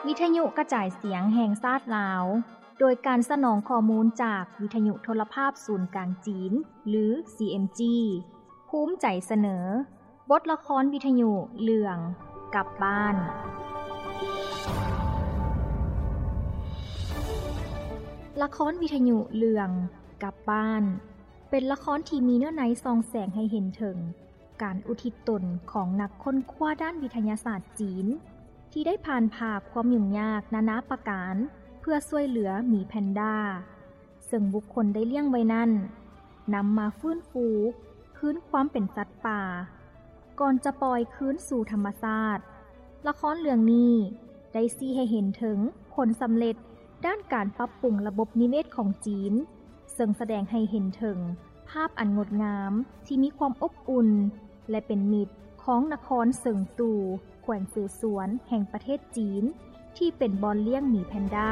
ວິທະຍຸກະຈາຍສຽງແຫ່ງຊາດລາວ ໂດຍການສະໜອງຂໍ້ມູນຈາກວິທະຍຸໂທລະພາບສູນກາງຈີນ ຫຼື CMG ພູມໃຈສະເໜີ ບົດລະຄອນວິທະຍຸເລື່ອງກັບບ້ານ. ລະຄອນວິທະຍຸເລື່ອງກັບບ້ານ ເປັນລະຄອນທີ່ມີເນື້ອໃນສ່ອງແສງໃຫ້ເຫັນເຖິງການອຸທິດຕົນຂອງນັກຄົ້ນຄວ້າດ້ານວິທະຍາສາດຈີນ ທີ່ໄດ້ຜ່ານຜ່າຄວາມຫຍຸ້ງຍາກນານາປະການ ເພື່ອຊ່ວຍເຫຼືອໝີແພນດາ ເຊິ່ງບຸກຄົນໄດ້ລ້ຽງໄວ້ນັ້ນ ນຳມາຟື້ນຟູຄືນຄວາມເປັນສັດປ່າ ກ່ອນຈະປ່ອຍຄືນສູ່ທຳມະຊາດ. ລະຄອນເລື່ອງນີ້ໄດ້ຊີ້ໃຫ້ເຫັນເຖິງຜົນສຳເລັດດ້ານການປັບປຸງລະບົບນິເວດຂອງຈີນ, ເຊິ່ງສະແດງໃຫ້ເຫັນເຖິງພາບອັນງົດງາມທີ່ມີຄວາມອົບອຸ່ນ ແລະ ເປັນມິດຂອງນະຄອນເຊິງຕູ່ ແຂວງເສສວນ ແຫ່ງປະເທດຈີນ ທີ່ເປັນບ່ອນລ້ຽງໝີແພນດາ.